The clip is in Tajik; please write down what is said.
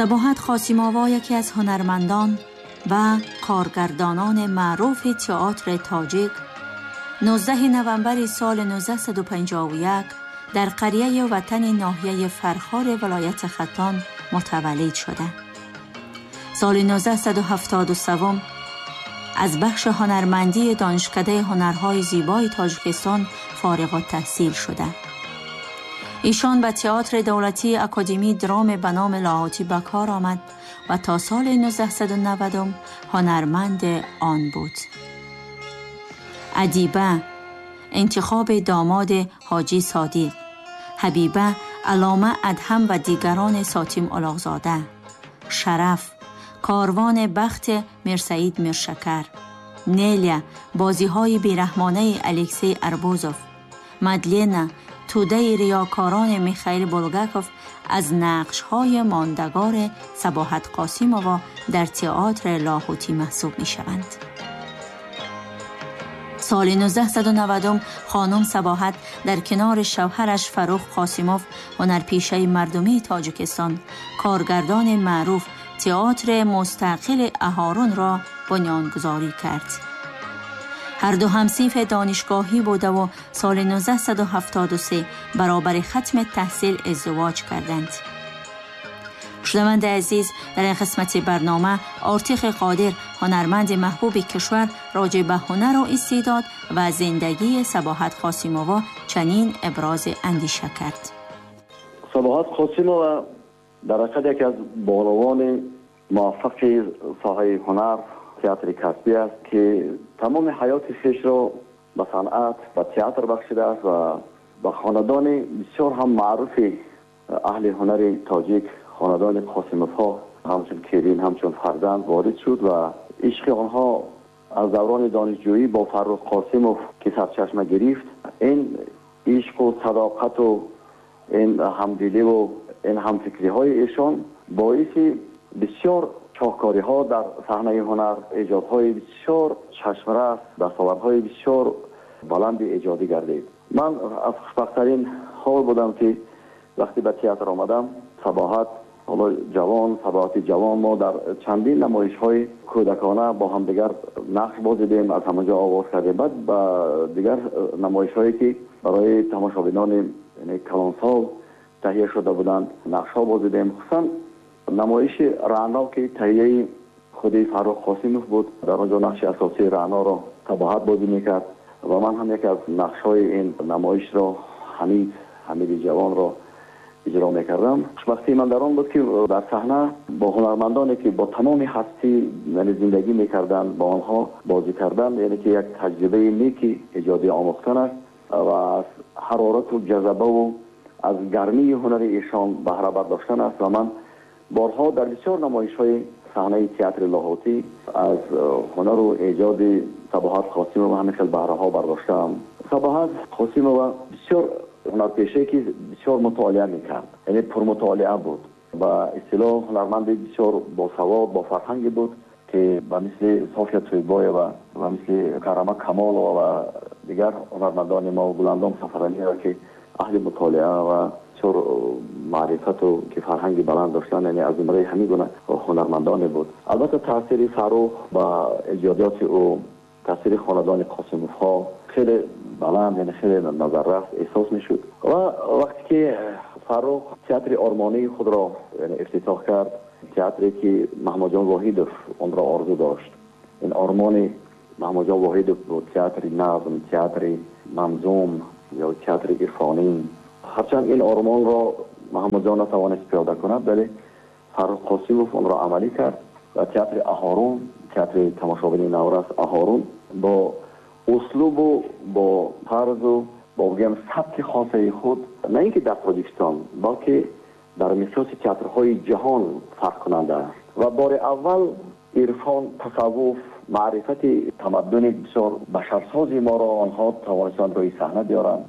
Сабоҳат Қосимова яке аз ҳунармандон ва коргардонони маъруфи театри тоҷик 19 новамбри соли 1951 дар қарияи ватани ноҳияи Фархори вилояти Хатлон мутаваллид шуда. Соли 1973 аз бахши ҳунармандии Донишкадаи ҳунарҳои зебои Тоҷикистон фориғултаҳсил шуда. Эшон ба театри давлатии Академии драма ба номи Лоҳутӣ ба кор омад ва то соли 1990 ҳунарманд он буд. Адиба, интихоби домоди Ҳоҷӣ Содиқ, Ҳабиба, Аллома Адҳам ва дигарони Сотим Улуғзода, Шараф, корвони бахти Мирсаид Миршакар, Нелия, бозиҳои бераҳмонаи Алексей Арбузов, Мадлена, тӯдаи риёкорони Михаил Булгаков аз нақшҳои мондагори Сабоҳат Қосимова дар театри Лоҳутӣ маҳсуб мешаванд. Соли 1990 хонум Сабоҳат дар канори шавҳараш Фаррух Қосимов, ҳунарпешаи мардумии Тоҷикистон, коргардони маъруф, театри мустақили Аҳорунро бунёдгузорӣ кард. Ҳар ду ҳамсинфи донишгоҳӣ буда соли 1973 баробари хатми таҳсил издивоҷ карданд. Шунавандаи азиз, дар ин қисмати барнома Ортиқи Қодир, ҳунарманди маҳбуби кишвар, роҷеъ ба ҳунару истеъдод ва зиндагии Сабоҳат Қосимова чунин ибрози андеша кард. Сабоҳат Қосимова дар ҳақиқат яке аз бонувони муваффақи соҳаи ҳунар, театри касбӣ аст, ки тамоми ҳаёти хешро ба санъат, ба театр бахшидааст ва ба хонадони бисёр ҳам маъруфи аҳли ҳунари тоҷик, хонадони Қосимовҳо, ҳамчун келин, ҳамчун фарзанд ворид шуд ва ишқи онҳо аз даврони донишҷӯӣ бо Фаррух Қосимов ки сарчашма гирифт, ин ишқу садоқату ин ҳамдиливу ин ҳамфикриҳои эшон боиси бисёр шоҳкориҳо дар саҳнаи ҳунар, эҷодҳои бисёр чашмрас, дастовардҳои бисёр баланди эҷодӣ гардид. Ман аз хушбахттарин ҳол будам, ки вақте ба театр омадам, Сабоҳат ҳоло ҷавон, Сабоҳати ҷавон, мо дар чандин намоишҳои кӯдакона бо ҳамдигар нақш бозидем, аз ҳамонҷо оғоз кардем. Баъд ба дигар намоишҳое ки барои тамошобинони калонсол таҳия шуда буданд, нақшҳо бозидем. Хусусан намоиши Раъно, ки таҳияи худи Фаррух Қосимов буд, дар он ҷо нақши асосии Раъноро Сабоҳат бозӣ мекард ва ман ҳам яке аз нақшҳои ин намоишро, Ҳамид, Ҳамиди ҷавонро иҷро мекардам. Хушбахтии ман дар он буд, ки дар саҳна бо ҳунармандоне ки бо тамоми ҳастӣ, яъне зиндагӣ мекарданд, бо онҳо бозӣ кардан, яъне ки як таҷрибаи неки эҷодӣ омӯхтан аст ва аз ҳарорату ҷазабаву аз гармии ҳунари эшон баҳра бардоштан аст. Ва ман борҳо дар бисёр намоишҳои саҳнаи театри Лоҳутӣ аз ҳунару эҷоди Сабоҳат Қосимова ҳамин хел баҳраҳо бардоштаам. Сабоҳат Қосимова бисёр ҳунарпешае ки бисёр мутолиа мекард, яъне пурмутолиа буд, ба истилоҳ ҳунарманди бисёр босавод, бофарҳанге буд, ки ба мисли София Тӯйбоева ва мисли Карама Камолова ва дигар ҳунармандони мо, Гуландом Сафаралиева, ки аҳли мутолиа ва бисёр маърифату ки фарҳанги баланд доштанд, яъне аз зумраи ҳамин гуна ҳунармандоне буд. Албатта таъсири Фаррух ба эҷодиёти ӯ, таъсири хонадони Қосимовҳо хеле баланд, яъне хеле назаррас эҳсос мешуд. Ва вақте ки Фаррух театри ормонии худро, яъне, ифтитоҳ кард, театре ки Маҳмудҷон Воҳидов онро орзу дошт, ин ормони Маҳмудҷон Воҳидов буд, театри назм, театри манзум ё театри ирфонӣ. Ҳарчанд ин ормонро Маҳмудҷон натавонист пиёда кунад, вале Фаррух Қосимов онро амалӣ кард ва театри Аҳорун, театри тамошобини наврас Аҳорун бо услубу бо тарзу бо бигӯям сабки хосаи худ на ин ки дар Тоҷикистон, балки дар миқёси театрҳои ҷаҳон фарқкунанда аст ва бори аввал ирфон, тасаввуф, маърифати тамаддуни бисёр башарсози моро онҳо тавонистанд рӯи саҳна биёранд.